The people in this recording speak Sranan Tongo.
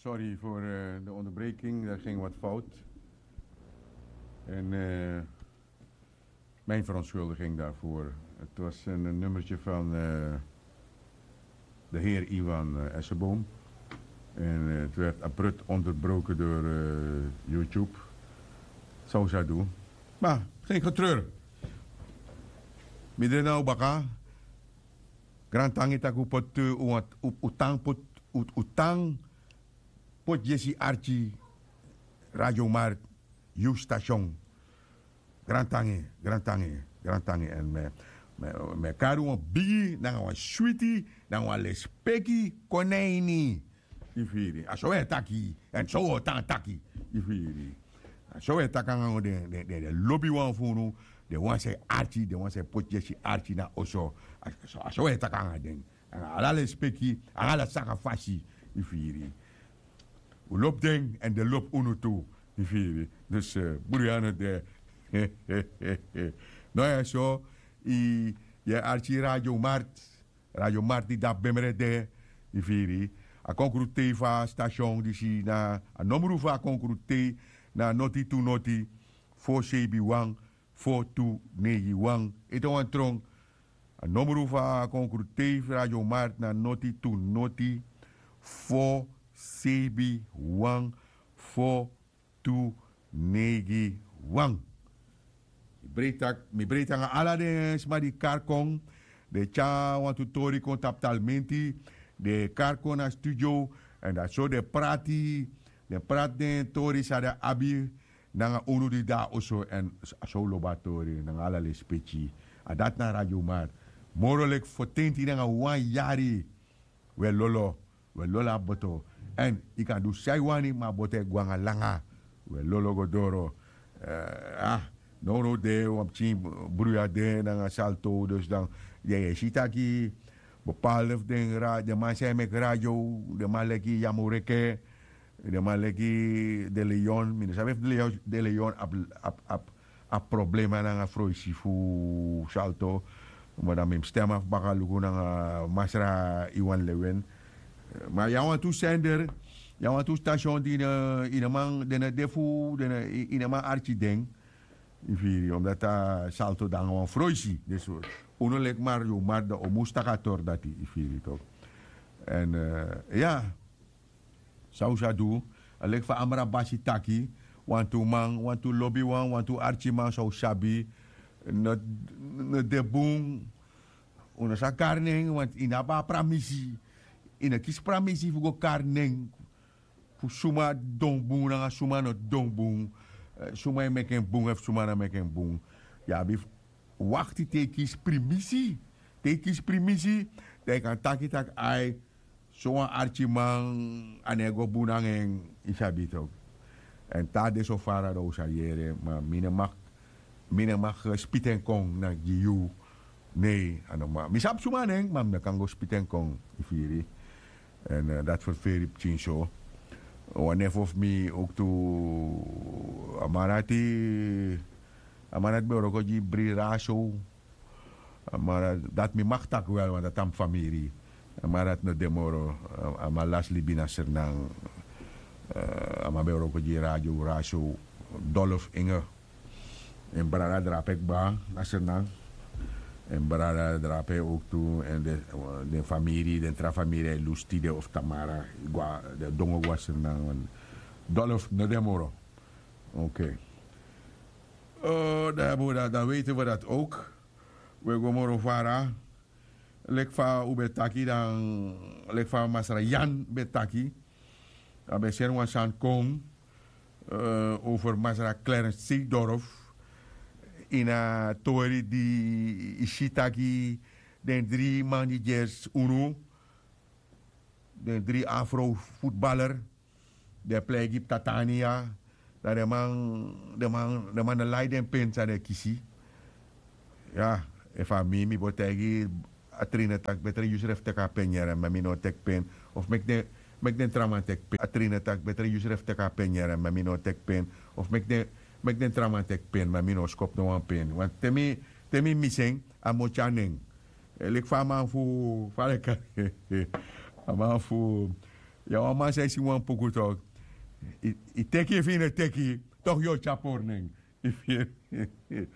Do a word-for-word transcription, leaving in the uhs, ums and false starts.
Sorry voor eh, de onderbreking, daar ging wat fout. En eh, mijn verontschuldiging daarvoor. Het was een, een nummertje van eh, de heer Iwan eh, Esseboom. En eh, het werd abrupt onderbroken door eh, YouTube. Zo zou doen. Maar geen getreur. Midden nou baka. Grantangi taku pot eh, u want u- u tang pot u- u tang pot Jesse Archie, Radio Markt, Youth Station. Grantangi, grantangi, grantangi. En me, me, me kari wan bigi, nanga wan switi, nanga wan lespeki, kon na ini. Yu firi. A so e taki, en so o tan taki. Yu firi. A so e taki anga den, den, den, den lobi wan fu unu, den wan san e arki, den wan san e poti Jesse Archie na oso. A so, a so e taki anga den. Anga ala lespeki, anga ala saka fasi. Yu firi. Un lobi den, en den lobi unu tu. Yu firi. Dus eh, bruya no de. No ya so, i, yu e arki Radio Markt. Radio Markt di de na Bemre de. Yu firi. A konkrutei fu a station disi na, a nomru fu a konkrutei na noti tu noti, fo seibi wan, fo tu neigi wan. Ete wan tron. A nomru fu a konkrutei fu Radio Markt na noti tu noti, fo seibi wan, fo tu neigi wan. Mi breiti anga ala den sma di kari kon, den tyari wantu tori kon tapu talmenti, den kari kon na studio, èn dati so den prati, den prati den tori san den abi nanga unu di de na oso, èn a so un lobi a tori nanga ala lespeki. A dati na Radio Markt. Moro leki fotenti nanga wan yari. We lolo, we lolo a boto. Èn yu kan du san yu wani, ma a boto e go anga langa. We lolo go doro. Eh, ah, nownow de wan pikin bruya de nanga Salto, dus dan yu e si taki bepaalde fu den ra- den man san e meki radio, den man leki Yamureke, den man leki De Leon, mi no sabi efu De Leon, De Leon abi, abi, abi a problema nanga froisi fu Salto. Ma dan mi mus stem afu baka luku nanga masra Iwan Lewin. Ma yu abi wantu sender, yu abi wantu station di yu no man, den no de fu den no man arki den. Yu firi, omdati a Salto de nanga wan froisi. Dus un no leki Mario Markt, dan un mus taki a tori dati, yu firi tok. Èn eh, ya, san un sa du, a leki fa Amra Basi taki, wantu man, wantu lobiwan, wantu arkiman san un sabi, no, no de bun. Un no sa kari nen, want yu no abi a pramisi. Yu no kisi pramisi fu go kari nen. Fu suma don bun nanga suma no don bun. Eh, suma e meki en bun efu suma no meki en bun. Yu abi fu wakti te yu kisi primisi. Te yu kisi primisi, dan yu kan taki taki ai, sowan arkiman, a no e go bun nanga en, yu sabi tok. Èn te a de so fara dan un sa yere, ma mi no mag, mi no mag eh, spiti en kon na gi yu. Nei, a no man. Mi sabi suma nen, ma mi no kan go spiti en kon, yu firi. Èn eh, dati ferferi pikin so. Wan nefo fu mi owktu, a man dati, a man dati ben wroko gi Bri Raso. A man dati, dati mi mag taki wel, want dati na mi famiri. A man dati no de moro, a, a man lasi libi na Sranan. Eh, a man ben wroko gi Radio Raso, Dolph Inge. En brada drape kba na Sranan. En brada drape owktu, èn den, den famiri, den tra famiri e lusu tide of tamara, go na, den dongo go na Sranan. Dolph no de moro. Oké. Eh, dan, dan weten we dat ook. We go moro fara. Leki fa un ben taki dan, leki fa masra Yan ben taki. A ben seni wan sani kon eh, over masra Clarence Seedorf. Ini a tori di yu si taki den dri man di gersi unu, den dri afro futbaler, den e plei gi ptatania, dan den man, den man, den man no lai den pen san den kisi. Ya, efu a mi, mi bo taigi a trainer taki betre yu srefi teki a pen yere, ma mi no o teki pen. Of meki den, meki den tra man teki pen. A trainer taki betre yu srefi teki a pen yere, ma mi no o teki pen. Of meki den, meki den tra man teki pen, ma mi no o skopu no wan pen. Want te mi, te mi misi en, a mu tyari nen. Eh, leki fa a man fu, fa den e kari, a man fu Ya wan man san e singi wan puku tok', i teki efu i no teki, tok' yu o tyari pori nen. Efu yu e